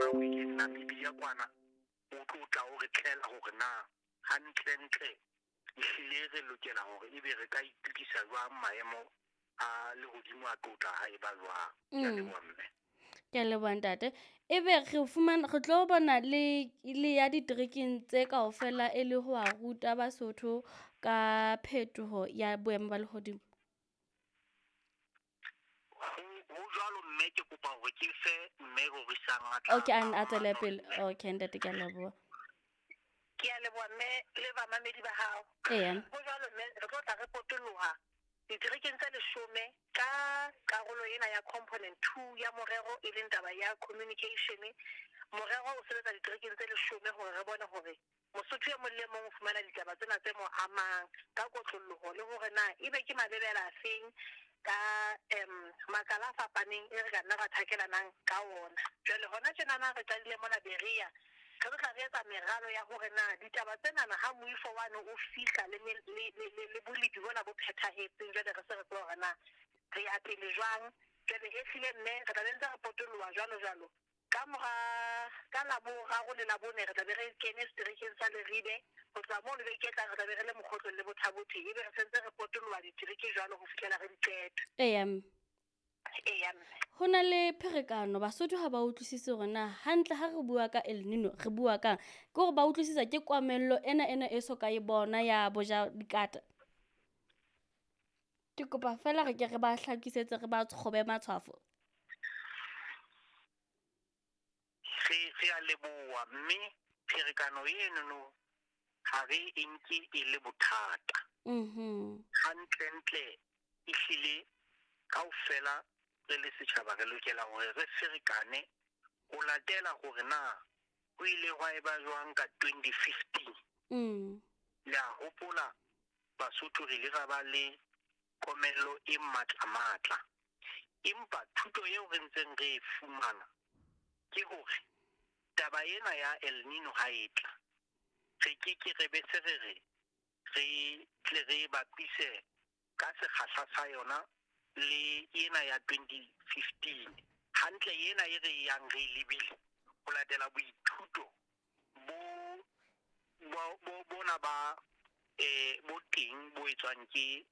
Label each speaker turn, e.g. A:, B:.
A: Zimbabwe Namibia kwana o tlo tla o re tlela hore na hantlentle ehlile re lokela hore ebe re ka itokisa jwang maemo a lehodimo a tlotla ha e ba jwang. Ke a leboha mme.
B: Ke a leboha ntate. Ebe re fumana re tlo bona le ya diterekeng tse kaofela e le ho a ruta Basotho ka phetoho ya boemo ba lehodimo.
A: Ho jwalo mme ke kopa hore ke fe mme Rorisang a tla.
B: Okay, a tswele pele. Okay ntate, ke a leboha.
C: Ke a leboha mme le bamamedi ba hao.
B: Eya.
C: Ho jwalo mme re tlo tla re potoloha diterekeng tse 10 ka karolo ena ya component 2 ya morero e leng taba ya communication. Morero o sebetsa diterekeng tse 10 hore re bone hore Mosotho e mong le mong o fumana ditaba tsena tse mo amang ka kotloloho le hore na ebe ke malebela a feng ka makala a fapaneng e re ka nna ra thakelanang ka ona. Jwale hona tjenana re qadile mona Berea, re tlo tla re etsa meralo ya hore na ditaba tsenana ha moifo wane o fihla le bolepi bona bo phethahetseng, jwale re se re tseba hore na re ya pele jwang. Jwale ehlile mme re tla be ntse re potoloha jwalo jwalo. Ka mora ka Laboraro le Labone re tla be re kene seterekeng sa Leribe. Ho tloha mono beke e tlang re tla be re le Mokgotlong le Botha-Bothe, ebe re sentse re potoloha ditereke jwalo ho fihlela re di qeta.
B: Eya mme.
C: Eya mme.
B: Ho na le pherekano, Basotho ha ba utlwisise hore na hantle ha re bua ka El Nino re bua kang. Ke hore ba utlwisisa ke komello ena e so ka e bona ya boja dikata. Ke kopa feela re ke re ba hlakisetse, re ba kgobe matshwafo.
A: Re a leboha mme pherekano enono ha re e nke e le bothata. Hantlentle ehlile kaofela re le setjhaba re lokela hore re ferekane ho latela hore na ho ile hwa eba jwang ka 2015. Le a hopola Basotho re ile ra ba le komello e matla-matla. Empa thuto eo re ntseng re e fumana ke hore taba ena ya El Nino ha e tla, re ke ke re be se re re re tle re bapise ka sekgahla sa yona le ena ya 2015. Hantle ena e re yang re lebile ho latela boithuto bo bona ba bo teng bo etswang ke